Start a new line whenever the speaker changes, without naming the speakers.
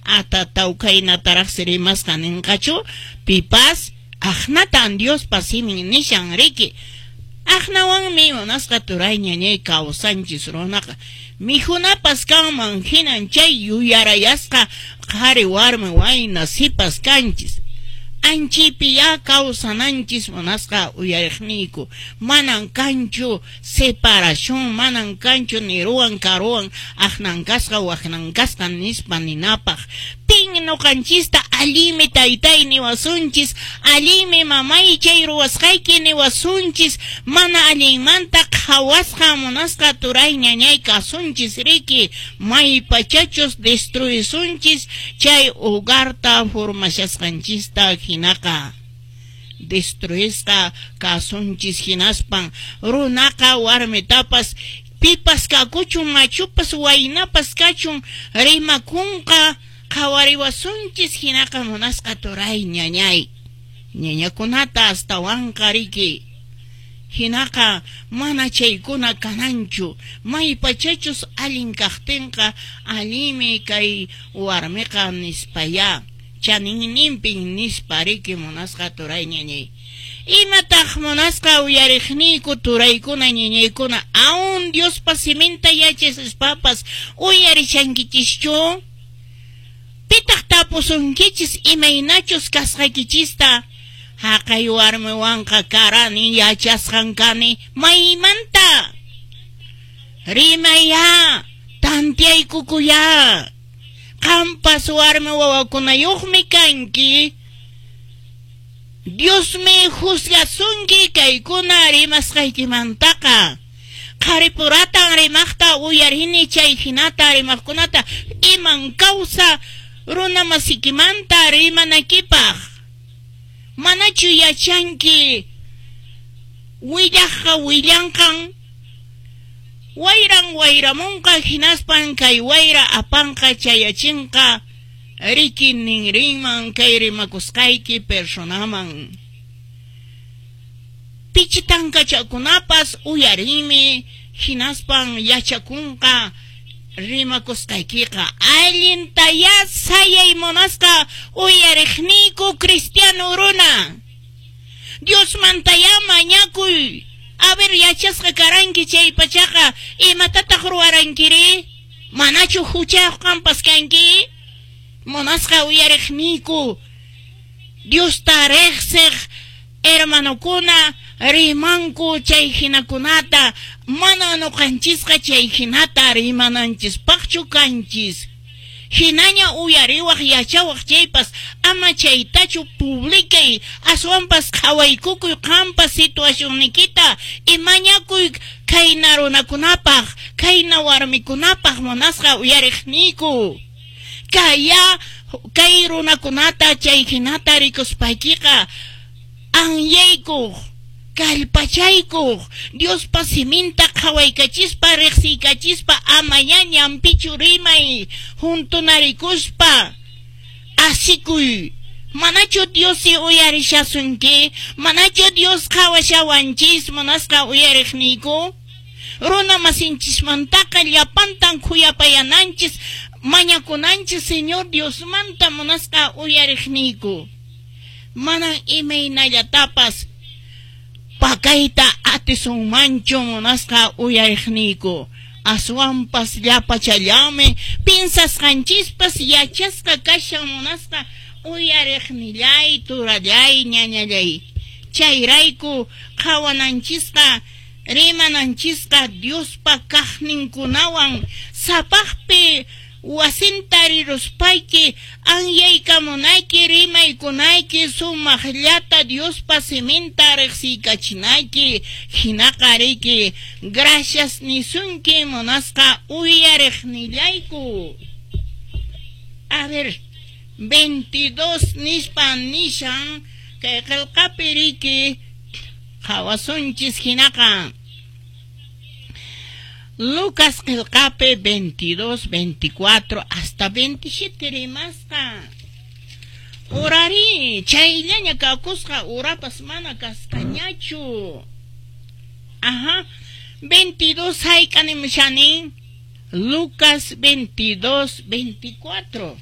Atataw khaynataraqsi rimasqa ninqachu pipas? Aqnatan Diospa simin nishan riki. Aqnawanmi munasqa turay ñañay kawsanchis runaqa. Mikhunapas kanman hinan chay yuyarayasqa qhari warmi wayna sipas kanchis. Anchipiyá kawsananchis munasqa uyariqniyku. Manan kanchu separación, manan kanchu niruwan karuwan aqnan kasqa waknan kasqa nispa ninapaq. Pin noqanchista allinmi taytay niwasunchis, allinmi mamay chay ruwasqayki niwasunchis, mana allinmanta qhawasqa munasqa turay ñañay kasunchis riki, maypachachus destruisunchis chay hogarta formashasqanchista hinaqa. Destruisqa kasunchis hinaspan runaqa warmitapas pipas kakuchun machupas waynapas kachun rimakunqa qhawariwasunchis hinaqa munasqa turay ñañay ñañakunata astawanqa riki. Hinaqa mana chaykuna kananchu maypachachus allin kaqtinqa allinmi kay warmiqa nispayá chaninninpin nispa riki munasqa turay ñañay. Imataq munasqa uyariqniyku turaykuna ñañaykuna aún Diospa siminta yachaspapas uyarishankichischu? Pitaq tapusunkichis imaynachus kasqaykichista? Haqay warmiwanqa karani yachasqan kani maymanta? Rimaya, tantiaykukuya. Qampas warmi wawakunayuqmi kanki. Diosmi juzgasunki kaykuna rimasqaykimantaqa. Qharipuratan rimaqta uyarini chay hinata rimaqkunata iman kawsa runa masikimanta rimanakipaq. Manachu yachanki willaqqa willanqan wayran wayramunqa hinaspan kay wayra apanqa chayachinqa riki ninrinman kay rimakusqayki personaman. Pichitankachakunapas uyarinmi hinaspan yachakunqa rimakusqaykiqa. Allintayá sayay munasqa uyariqniyku cristiano runa. Diosmantayá mañakuy. A ver yachasqa karanki chay pachaqa imatataq ruwarankiri? Manachu huchayuq qampas kanki? Munasqa uyariqniyku Diosta riqsiq hermanokuna rimanku chay hinakunata, mana nuqanchisqa chay hinata rimananchispaqchu kanchis. Hinaña uyariwaq yachawaq chaypas ama chaytachu publicay, aswanpas qhawaykukuy qampa situacionnikita y mañakuy khayna runakunapaq, khayna warmikunapaq munasqa uyariqniyku. Kaya kay runakunata chay hinata rikuspaykiqa anyaykuq, kallpachaykuq, Diospa siminta qhawaykachispa riqsiykachispa amayá ñanpichu rimay juntunarikuspa asikuy. Manachu Diosi uyarishasunki? Manachu Dios qhawashawanchis munasqa uyariqniyku? Runa masinchismantaqa llapantan khuyapayananchis mañakunanchis Señor Diosmanta munasqa uyariqniyku. Manan imaynallatapas pakayta atisunmanchu munasqa uyariqniyku. Aswanpas llapachallanmi pinsasqanchispas yachasqa kashan munasqa uyariqnillay, turallay, ñañallay. Chayrayku qhawananchisqa rimananchisqa Diospa kaqninkunawan sapaqpi wasinta riruspayki anyaykamunayki rimaykunayki sumaqllata Diospa siminta riqsiykachinayki hinaqa riki gracias nisunki munasqa uyariqnillayku. A ver, 22 nispa nishan kay qillqapi riki qhawasunchis hinaqa. Lucas qillqapi 22, 24 hasta 27 rimasqa. Urari, chayllaña kakusqa urapas mana kasqañachu. Ajá, 22 hayk'animshani. Lucas 22, 24.